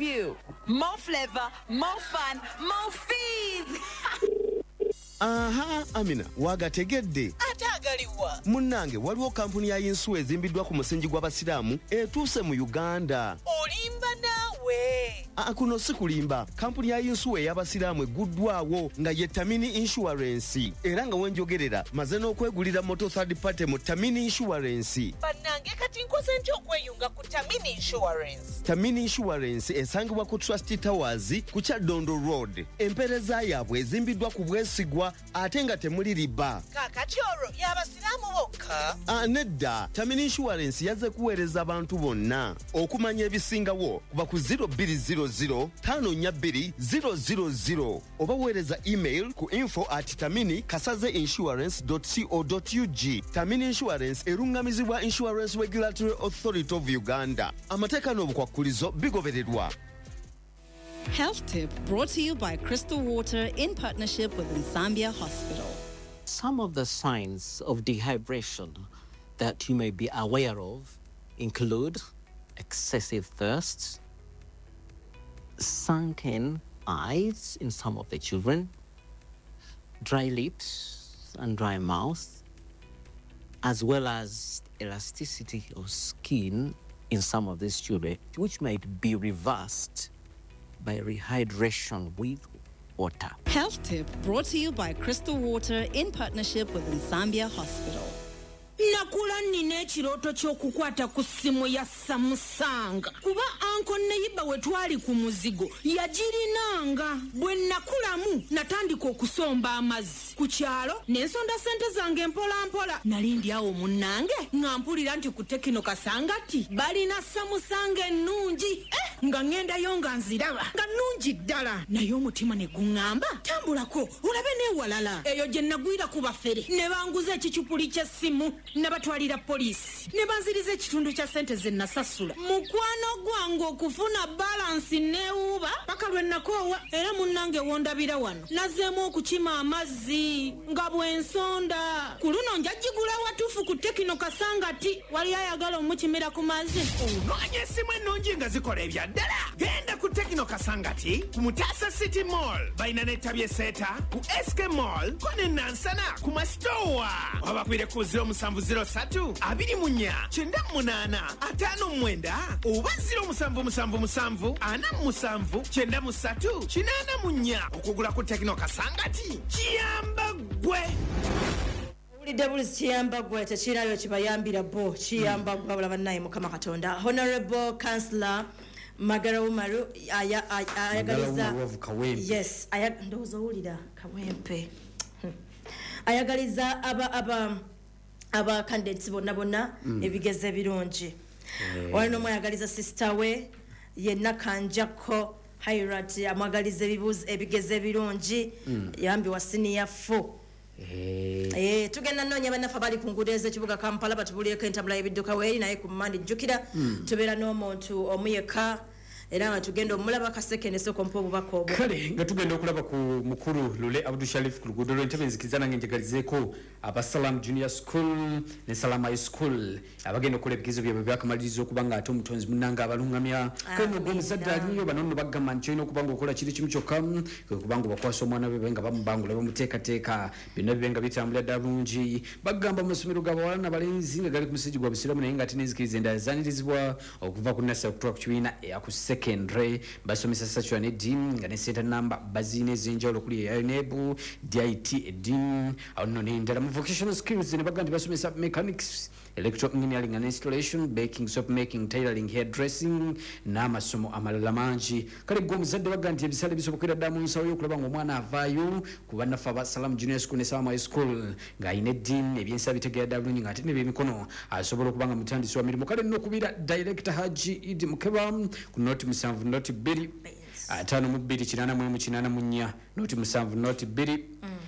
you. More flavor, more fun, more fees. Aha, Amina, wagategedde? Ate agaliwa? Munnange, waliwo kampuni ya yinsuwa ezimbiddwa ku musingi gw'Abasiraamu etuuse mu Uganda. Olimba naawe. Aa, kuno si kulimba. Kampuni ya yinsuwa ey'Abasiraamu egguddwawo nga ye Tamini Insurance, era nga wenjogerera maze n'okwegulira moto third party mu Tamini Insurance. Bannange, kati nkoze ntya okweyunga ku Tamini Insurance? Tamini Insurance esangibwa ku Trust Towers ku Kyaddondo Road. Empeereza yaabwe ezimbiddwa ku bwesigwa ate nga temuli riba. Kaakati olwo y'Abasiraamu bokka? Ah, nedda. Tamini Insurance yazze kuweereza abantu bonna. Okumanya ebisingawo kuba ku 0200 542 000 oba weereza email ku info@taminikasaze insurance co ug. Tamini Insurance erungamizibwa Insurance Regulatory Authority of Uganda. Amateeka n'obukwakkulizo bigobererwa. Health Tip brought to you by Crystal Water in partnership with Nsambya Hospital. Some of the signs of dehydration that you may be aware of include excessive thirst, sunken eyes in some of the children, dry lips and dry mouth, as well as elasticity of skin in some of these children, which might be reversed by rehydration with water. Health Tip brought to you by Crystal Water in partnership with Nsambya Hospital. Nakula nnina ekirooto ky'okukwata ku ssimu ya Samsung, kuba uncle neighbour we twali ku muzigo yagirinanga. Bwe nakulamu natandika okusomba amazzi ku kyalo ne nsonda sente zange mpolampola. Nali ndi awo munnange nga mpulira nti ku Tecno Kasangati balina Samsung ennungi. Eh, nga ŋŋendayo nga nziraba nga nnungi ddala, naye omutima ne guŋŋamba, "Tambulako olabe n'ewalala." Eyo gye nagwira ku bafere ne banguza ekicupuli ky'essimu. Nabatwalira poliisi ne banziriza ekitundu kya sente ze nasasula. Mukwano gwange, okufuna balance neewuuba paka lwe nakoowa. Era munnange, wondabira wano nazzeemu okukima amazzi nga bw'ensonda. Ku luno njagigula watuufu ku Tecno Kasangati. Wali ayagala omukimira ku mazzi? Onoonya essimu ennungi nga zikola ebya ddala? Genda ku Tecno Kasangati ku Mutasa City Mall. Balina n'ettabi eseeta ku SK Mall ko ne Nansana ku Masitowa. Wabakubire ku 0703 24 98 59 oba 0777 47 93 84. Okugula ku Tecno Kasangati kiyamba ggwe. Owulidde buli kiyamba gwe, tekirayo kibayambira bo, kiyamba gwe. Wabula bannaye, Mukama Katonda. Honorable Councillor Magara Umaru ayagaliza Umaru of Kawempe. Yes, ndowooza owulira Kawempe. Ayagaliza aba candidates bonna bonna ebigezo ebirungi. Wali n'omwayagaliza sister we yenna Kanjako Hairat, amwagaliza ebigezo ebirungi. Yambi wa senior 4. Eh, tugenda noonya bannaffe abali ku nguudo ez'ekibuga Kampala batubulireko entabula y'ebidduka weeri. Naye ku Mandi, jjukira tubeera n'omuntu omu yekka, era nga tugenda omulaba kasekende. Sooka ompa obubaka obwo. Kale nga tugenda okulaba ku mukulu Lule Abdu Sharif ku luguudo lw'Entebe, nzikiriza nange njagalizeeko aba Salam Junior School ne Salam High School abagenda okukola ebigezo byabwe byakamaliriza, okuba nga ate omutonzi munnange abalungamya. Kale nogwo omuzadde aliyo, bano nno bagamba nti olina okuba nga okola kiri kimu kyokka, kwe kuba nga obakwasa omwana we nga bamubangula, bamuteekateeka, byonna bibe nga bitambulira ddala bulungi. Bagamba mu masomero g'abawala n'abalenzi nga gali ku musingi gwa Busiraamu, naye nga ate n'enzikiriza endala zanirizibwa, okuva ku nursery okutuuka ku kibiina eya ku secondary, basomesa secular ne deen, nga ne center number baziina ez'enjawulo okuli eya UNEB, DIT, edin awo nno n'endala. Mu vocational skills ne bagamba nti basomesa mechanics, electrical engineering and installation, baking, soap making, tailoring, hairdressing n'amasomo amalala mangi. Kale gwe omuzadde, bagamba nti ebisale bisobokera ddala mu nsawo y'okulaba ng'omwana avaayo ku bannaffe aba Salam Junior School ne Salam High School ng'alina eddiini, ebyensa bitegeera ddala bulungi, ng'ate n'ebyemikono asobola okuba nga mutandisi wa mirimu. Kale nno okubira Director Haji Idi Mukeba ku 0 7 0 2 52 84, 07 02.